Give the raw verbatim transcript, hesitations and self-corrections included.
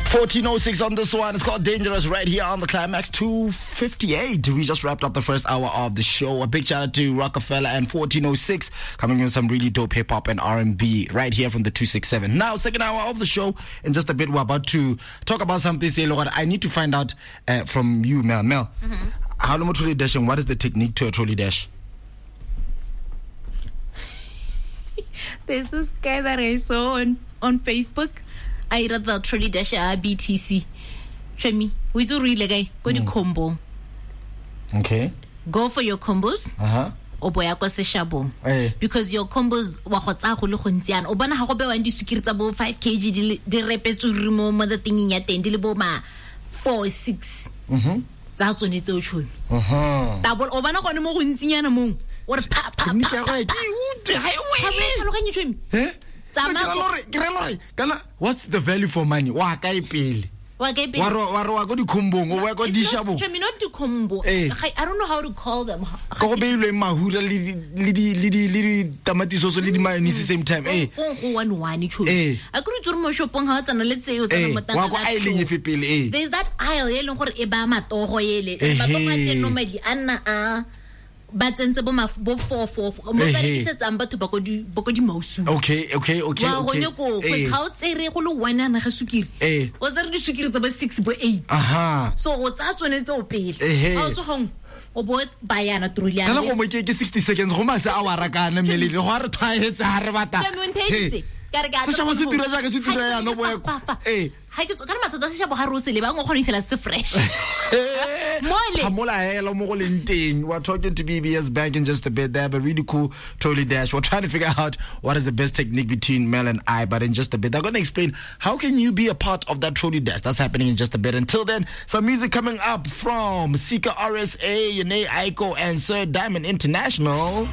fourteen oh six on this one. It's called Dangerous right here on the Climax two fifty-eight. We just wrapped up the first hour of the show. A big shout out to Rockefeller and fourteen oh six coming in some really dope hip hop and R and B right here from the two six seven. Now, second hour of the show, in just a bit, we're about to talk about something. Say, Lord, I need to find out uh, from you, Mel. Mel, mm-hmm. how long trolley dashing? What is the technique to a trolley dash? There's this guy that I saw on, on Facebook. I read the trolley dash B T C. Chomi, we so really guy. Go to combo. Okay. Go for your combos. Uh huh. O boya kwa seshabong. Because your combos wa go tsaya go le gontsi yana. O bona ha go bewa di sukiri tsa bo five kilograms di di repetswe mo mo the thing ya teng di le bo ma four six. Mhm. Tsa tsone tseo chomi. Uh-huh. Tabo o bona gone mo go ntsinyana mong. O re pa pa pa. Ke utlwe ha e wele. Chomi. Eh? Kana what's the value for money? Wa kae pele? Wa kae pele? Wa ro wa ro wa go dikhombong, o wa go dishabong. Chomi, not the combo. I don't know how to call them. Go go beilwe mahura le le di le di le di tamati sauce le di mayonnaise same time. Eh. Go go one one chomi. A ke re tsore mo shopong ha o tsana le tseo tsana motanga. Wa go aileng efe pele eh. There's that aisle e leng gore e ba matogo ele. Matogo a teng normally a nna a ba tsentse bo bo four four mo ba rekisetsang batho ba ko di ba ko di mausu. Okay, okay, okay, wa okay. Wa gone ko because ha o tsere go le one ana ga sukiri. O tsere di sukiri tsa ba six bo eight. Aha. So o tsa tsone tse o pele. Ha o tswa gong o bo bayana trolley. Kana go mo ke ke sixty seconds go mase a wa rakana mmele go a re tshwaetse ha re batla. Ka re ka seshabo se tura jaaka se tura yana bo eh ha ke ka re matsatsi a seshabo ha re o se leba o kgona go se fresh. Mole Hamola hela mo go leng teng. We're talking to B B S back in just a bit. They have a really cool trolley dash. We're trying to figure out what is the best technique between Mel and I, but in just a bit they're going to explain how can you be a part of that trolley dash. That's happening in just a bit. Until then, some music coming up from Sika R S A, Yene Aiko and Sir Diamond International.